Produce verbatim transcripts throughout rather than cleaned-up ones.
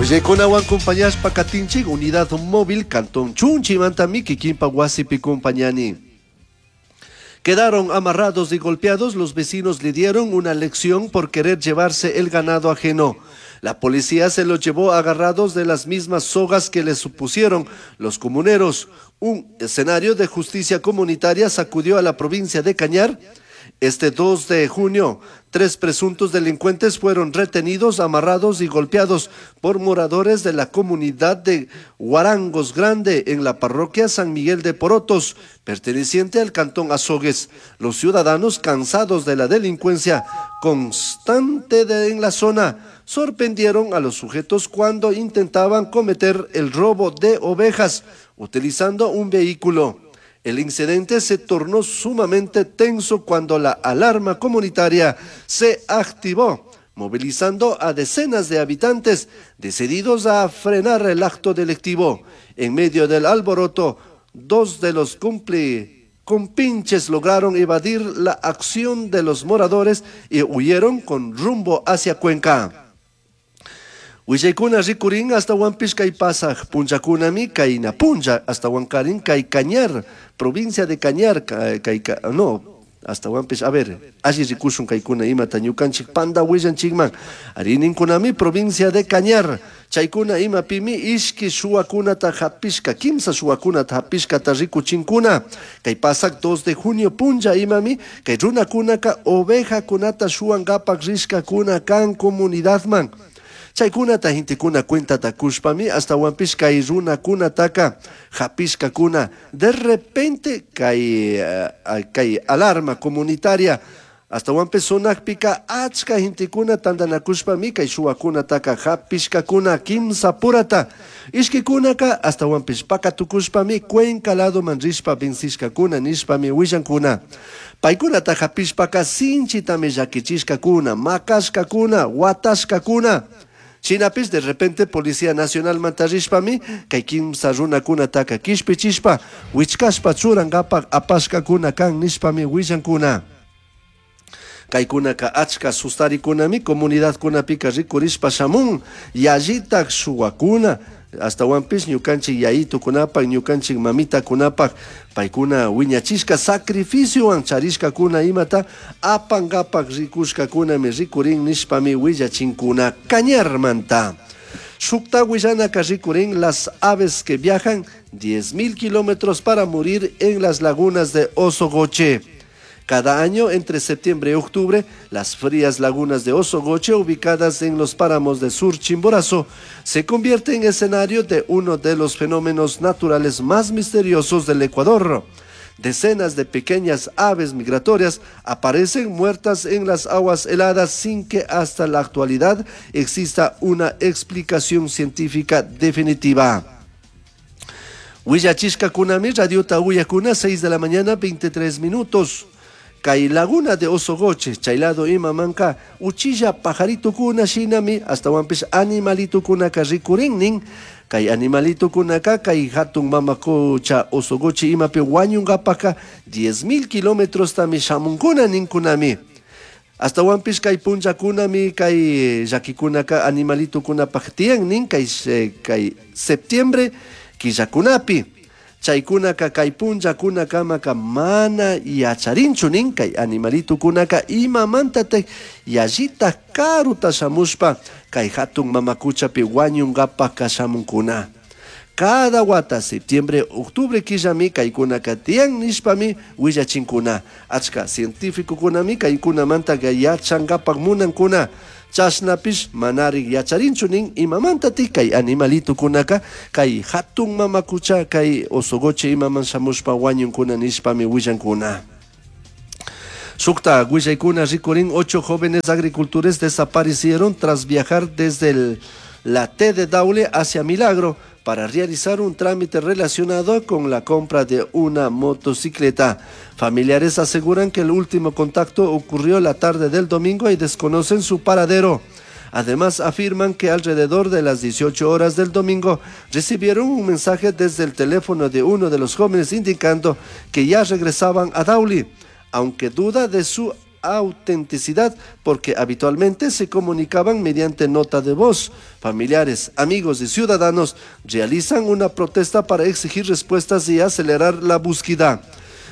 Willaykunawan compañashpa katinchik unidad móvil Cantón Chunchimantami kikinpa wasipi compañani. Quedaron amarrados y golpeados, los vecinos le dieron una lección por querer llevarse el ganado ajeno. La policía se los llevó agarrados de las mismas sogas que les supusieron los comuneros. Un escenario de justicia comunitaria sacudió a la provincia de Cañar. Este dos de junio, tres presuntos delincuentes fueron retenidos, amarrados y golpeados por moradores de la comunidad de Huarangos Grande en la parroquia San Miguel de Porotos, perteneciente al cantón Azogues. Los ciudadanos, cansados de la delincuencia constante de, en la zona, sorprendieron a los sujetos cuando intentaban cometer el robo de ovejas utilizando un vehículo. El incidente se tornó sumamente tenso cuando la alarma comunitaria se activó, movilizando a decenas de habitantes decididos a frenar el acto delictivo. En medio del alboroto, dos de los cumpli compinches lograron evadir la acción de los moradores y huyeron con rumbo hacia Cuenca. Willaykuna rikurin hasta kay pasaj punllakunami kayna punlla hasta kay Cañar, provincia de Cañar, kay, no, hasta a ver, alli rikushun kaykuna imata ñukanchik panda willanchikman, arininkunami provincia de Cañar, chaykuna imapimi ishki shuwakunata hapishka, kimsa shuwakunata hapishkata rikuchinkuna, kay pasak dos de junio punlla imami, kay runakunaka ovejakunata shuwankapak rishkakuna kan comunidadman. Chaykunata gentekuna cuentata kushpami hasta kay runakunataka hapishkakuna. De repente kay, uh, kay alarma comunitaria hasta sonakpika achka gentekuna tantanakushpami kay shuwakunataka hapishkakuna kimsa purata. Ishkikunaka hasta pakatukushpami Cuenca ladoman rishpa vencishkakuna nishpami willankuna. Paykunata hapishpaka sinchitami llakichishkakuna, makashkakuna, watashkakuna. Shinapis de repente Policía Nacional mantarishpami kay kimsa runakunataka kishpichishpa wichkashpa churankapak apashkakuna kan nishpami willankuna. Kaykunaka achka sustarikunami comunidadkunapika rikurishpa shamun yallitak shuwakuna hasta ñukanchik yayitukunapak ñukanchik mamitakunapak paykuna wiñachishka sacrificiowan charishkakuna imata apankapak rikushkakunami rikurin nishpami willachinkuna Cañarmanta. Shukta willanaka rikurin las aves que viajan diez mil kilómetros para morir en las lagunas de Ozogoche. Cada año, entre septiembre y octubre, las frías lagunas de Ozogoche, ubicadas en los páramos de Sur Chimborazo, se convierten en escenario de uno de los fenómenos naturales más misteriosos del Ecuador. Decenas de pequeñas aves migratorias aparecen muertas en las aguas heladas sin que hasta la actualidad exista una explicación científica definitiva. Huillachishka kunami, Radio Tahuya seis de la mañana, veintitrés minutos. Kay laguna de Ozogoche, chaylado imamanka, uchilla pajarito kuna shinami, hasta wampis animalito kuna ka rikurinnin, kay animalito kuna ka, kay hatun mamakocha Ozogoche imapi wañungapaka, diez mil kilómetros tami shamunkuna ninkunami. Hasta wampis kay punllakunami, kay llakikunaka animalito kuna paktian nin, kay, kay septiembre killakunapi. Chaykunaka kay punllakunakamaka mana yacharinchu nin kay animalitukunaka imamantataj yallita karuta shamushpa kay hatun mamakuchapi wañunkapak shamunkuna. Cada wata septiembre, octubre killami kaykunaka tiyan nishpami willachinkuna. Achka científicokunami kaykunamantaka yachankapak munankuna. Chashnapish manarik yacharinchu nin imamantatik kay animalitukunaka kay hatun mamakucha kay Ozogoche imaman shamushpa wañunkuna nishpami willankuna. Shukta willaykuna rikurin ocho jóvenes agricultores desaparecieron tras viajar desde el, la T de Daule hacia Milagro para realizar un trámite relacionado con la compra de una motocicleta. Familiares aseguran que el último contacto ocurrió la tarde del domingo y desconocen su paradero. Además, afirman que alrededor de las dieciocho horas del domingo recibieron un mensaje desde el teléfono de uno de los jóvenes indicando que ya regresaban a Daule, aunque duda de su autenticidad porque habitualmente se comunicaban mediante nota de voz. Familiares, amigos y ciudadanos realizan una protesta para exigir respuestas y acelerar la búsqueda.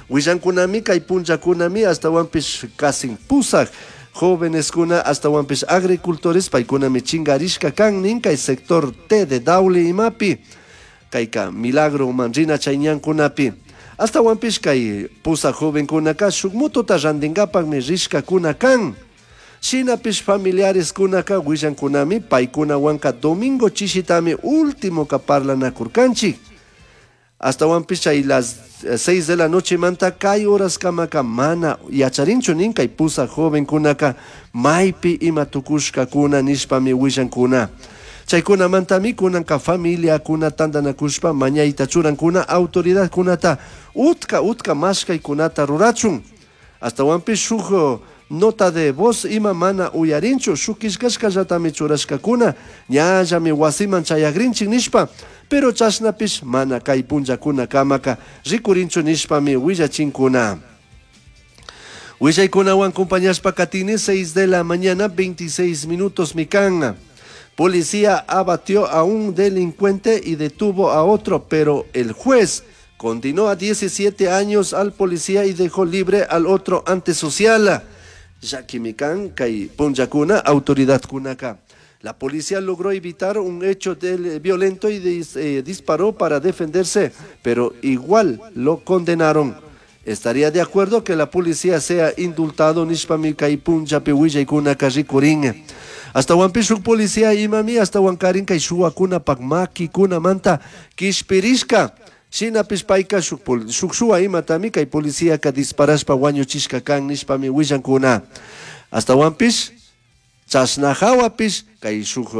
Willankunami kay punllakunami ashtawanpish casi pusaj jóvenes kuna ashtawanpish agricultores paykunami chingarishka kan nin kay sector T de Daule imapi kayka Milagro manrina chay ñankunapi. Ashtawanpish kay pusaj jovenkunaka shuk motota rantinkapakmi rishkakuna kan. Shinapish familiares kunaka willankunami paykunawanka domingo chishitami último ka parlanakurkanchik. Ashtawanpish chay las seis de la noche manta kay horas kamaka mana yacharinchu nin kay pusaj jovenkunaka maypi ima tukushkakuna nishpami willankuna. Chaykunamantami kunanka familiakuna tantanakushpa mañayta churankuna autoridadkunata utka utka mashkaykunata rurachun. Ashtawanpish shuk nota de voz ima mana uyarinchu shuk killkashkallatami churashkakuna ñallami wasiman chayagrinchik nishpa, pero chashnapish mana kay punllakuna kamaka rikurinchu nishpami willachinkuna. Willaykunawan acompañashpa katini seis de la mañana veintiséis minutos mikan. Policía abatió a un delincuente y detuvo a otro, pero el juez condenó a diecisiete años al policía y dejó libre al otro antisocial. Llakimikan kay punllakuna autoridad kunaka. La policía logró evitar un hecho del, violento y dis, eh, disparó para defenderse, pero igual lo condenaron. Estaría de acuerdo que la policía sea indultado nishpami kay punllapi willaykunaka rikurin. Ashtawanpish shuk policía imami ashtawankarin kay shuwakunapak makikunamanta kishpirishka. Shinapish payka shuk pol-, shuk shuwa imatami kay policíaka disparashpa wañuchishka kan nishpami willankuna. Ashtawanpish chashna hawapish kay shuk,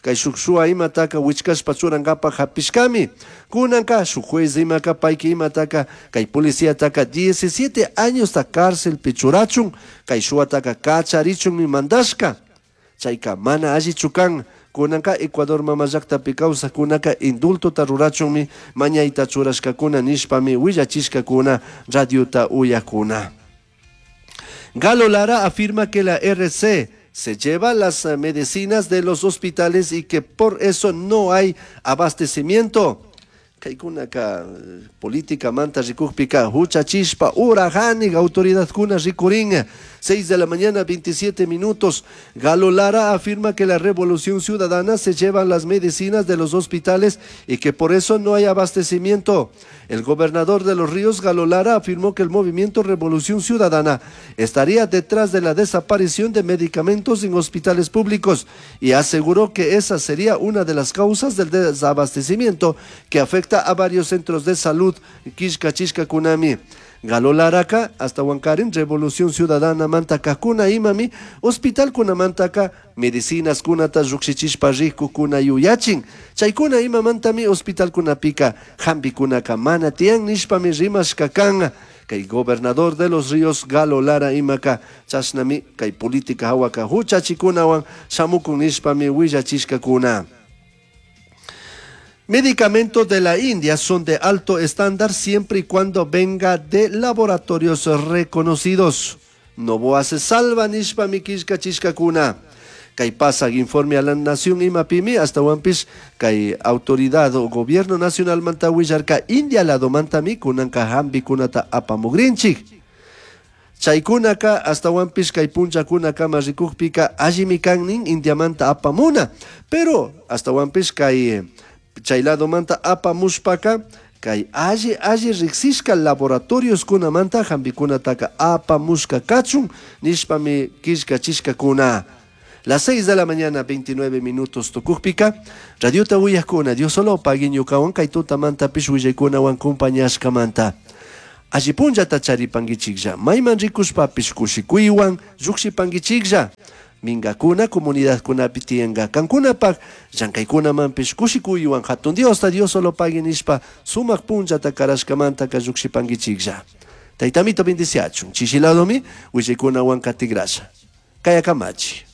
kay shuk shuwa imataka wichkashpa churankapak hapishkami. Kunanka shuk juez imaka payki imataka kay policíataka diecisiete añosta cárcelpi churachun kay shuwataka kacharichunmi mandashka. Chayka mana allichu kan. Kunanka Ecuador mama llaktapi kawsakkunaka indultota rurachunmi mañayta churashkakuna nishpami willachishkakuna radiota uyakuna. Galo Lara afirma que la R C se lleva las medicinas de los hospitales y que por eso no hay abastecimiento. Kaykunaka política manta rikukpika huchachishpa urajanik autoridadkuna rikurin. Seis de la mañana, veintisiete minutos. Galo Lara afirma que la Revolución Ciudadana se lleva las medicinas de los hospitales y que por eso no hay abastecimiento. El gobernador de Los Ríos, Galo Lara, afirmó que el movimiento Revolución Ciudadana estaría detrás de la desaparición de medicamentos en hospitales públicos y aseguró que esa sería una de las causas del desabastecimiento que afecta a varios centros de salud. Quishka Chishka Kunami. Galo Laraka, hasta Huancarín, Revolución Ciudadana, Mantaka, Kuna Imami, Hospital Kuna Mantaka, Medicinas Kunata, Ruxichishpa Riku, Kuna Yuyachin, Chaykuna Ima Mantami, Hospital Kuna Pica, Jambi Kunaka, Mana Tian, Nishpami Rimas Kakan, Kay gobernador de Los Ríos, Galo Lara Imaka, Chasnami, Kay política Hawaka, Huchachikunawan, Shamukun Nishpami, Willachishka Kuna. Medicamentos de la India son de alto estándar siempre y cuando venga de laboratorios reconocidos. Noboa se salva nishpa mikishka chishka kuna. Kay pasa informe a la nación imapimi hasta wampis kay autoridad o gobierno nacional manta willarka India lado mantami kunanka hambi kunata apamugrinchik. Chaykunaka hasta wampis kay punchakunaka marikukpika allimi kannin Indiamanta apamuna. Pero hasta wampis kay chay lado manta apamushpaka kay alli alli riksishka laboratorios kunamanta hambikunataka apamushka kachun nishpami kishka chishka kuna. Las seis de la mañana, veintinueve minutos tukukpika, radiota uyakuna, Dios solo pagui ñukawan kay tutamanta pish willaykunawan kumpañashkamanta. Alli punllata charipankichiklla, mayman rikushpapish kushikuywan llukshipankichiklla. Mingakuna, comunidadkunapi tiyanka kankunapak, llankaykunamanpish kushikuywan hatun Diosta, Dios solo pagui nishpa sumak punllata karashkamantaka llukshipankichiklla. Taytamito bendiciachun, chishiladomi, willaykunawan katigrasha. Kayakamachi.